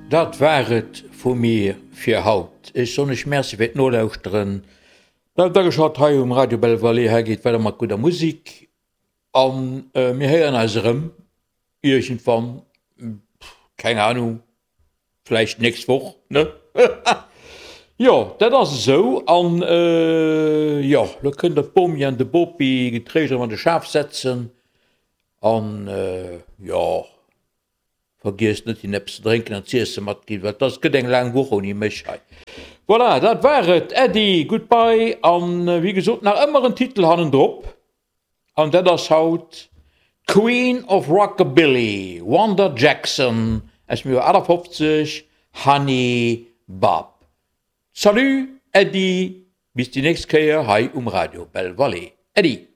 Dat war et vu mir fir haut. Ech soen iech Merci fir d'Nolauschteren. Bleift ageschalt hei um Radio Belle Vallée. Hei geet weider mat gudder Musik an mir héieren eis erëm iergendwann, keng Ahnung, vläicht d'nächst Woch, ne? Jo, dat ass esou. An jo, lo kënnt der d'Bomi an de Bopi getréischt erëm an de Schaf setzen an jo. Vergiesst net hinnen eppes ze drénken an z'iessen matginn, well dass gëtt eng laang Woch ouni mech hei. Voilà, dat war et. Äddi, goodbye an wéi gesot nach ëmmer en Titel hannendrop an dat ass haut d'Queen of Rockabilly, Wanda Jackson aus dem Joer 58, Honey Bop. Salut, Äddi, bis déi nächst Kéier hei um Radio Belval. Äddi!